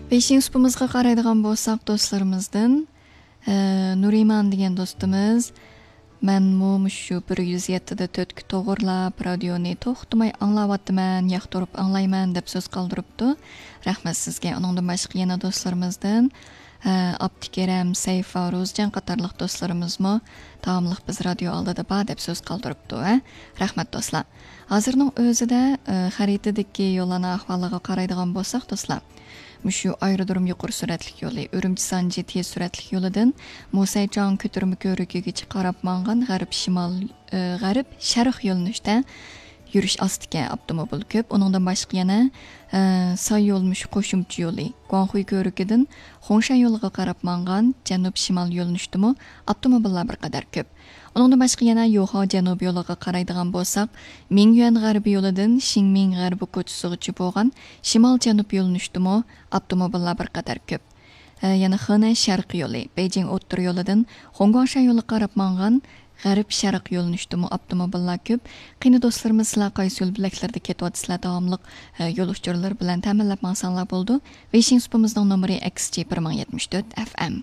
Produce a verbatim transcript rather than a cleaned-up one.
بېشىنچى سۇپىمىزغا قارايدىغان بولساق، دوستلىرىمىزدىن، ئە، نۇرىمان دېگەن دوستىمىز، مەنمۇ مۇشۇ بىر يۈز يەتتە دە تۆتكە توغرىلاپ، رادىيونى توختىماي ئاڭلاۋاتىمەن، ياقتۇرۇپ ئاڭلايمەن، دەپ سۆز قالدۇرۇپتۇ. رەھمەت سىزگە. ئۇنىڭدىن باشقا يەنە دوستلىرىمىزدىن، ئە، ئابدۇكېرەم، سەيفا، روزىجان قاتارلىق دوستلىرىمىزمۇ داۋاملىق بىز رادىيو ئالدىدا بار، دەپ سۆز قالدۇرۇپتۇ. ھە؟ رەھمەت، دوستلار. ھازىرنىڭ ئۆزىدە، ئە، خەرىتىدىكى يوللارنىڭ ئەھۋالىغا قارايدىغان بولساق، دوستلار، مۇشۇ ئايرودروم يۇقىرى سۈرئەتلىك يولى، ئۈرۈمچى سانجى تېز سۈرئەتلىك يولىدىن موسەيجان كۆتۈرمە كۆۋرۈكىگىچە قاراپ ماڭغان غەرب شىمال، ئى، غەرب شەرق يۆنىلىشتە يۈرۈش ئاستىكەن، ئاپتوموبىل كۆپ. ئۇنىڭدىن باشقا يەنە، ئى، ساي يول مۇشۇ قوشۇمچە يولى، گۇاڭخۇي كۆۋرۈكىدىن خۇڭشەن يولىغا قاراپ ماڭغان جەنۇب شىمال يۆنىلىشتىمۇ ئاپتوموبىللار بىر قەدەر كۆپ. ئۇنىڭدىن باشقا يەنە يوخاۋ جەنۇب يولىغا قارايدىغان بولساق، مىڭيۈەن غەربىي يولىدىن شىڭمىڭ غەربىي كوچىسىغىچە بولغان شىمال جەنۇب يۆنىلىشتىمۇ ئاپتوموبىللار بىر قەدەر كۆپ. ئە، يەنە خېنەن شەرقىي يولى، بېيجىڭ ئوتتۇرا يولىدىن خۇڭگۇاڭشەن يولىغا قاراپ ماڭغان غەرب شەرق يۆنىلىشتىمۇ ئاپتوموبىللار كۆپ. قېنى دوستلىرىمىز، سىلەر قايسى يول بۆلەكلىرىدە كېتىۋاتىسىلەر؟ داۋاملىق، ئە، يول ئۇچۇرلىرى بىلەن تەمىنلەپ ماڭساڭلار بولىدۇ. ۋېيشىڭ سۇپىمىزنىڭ نومۇرى ئەكس جى بىر مىڭ يەتمىش تۆت ئەف ئەم.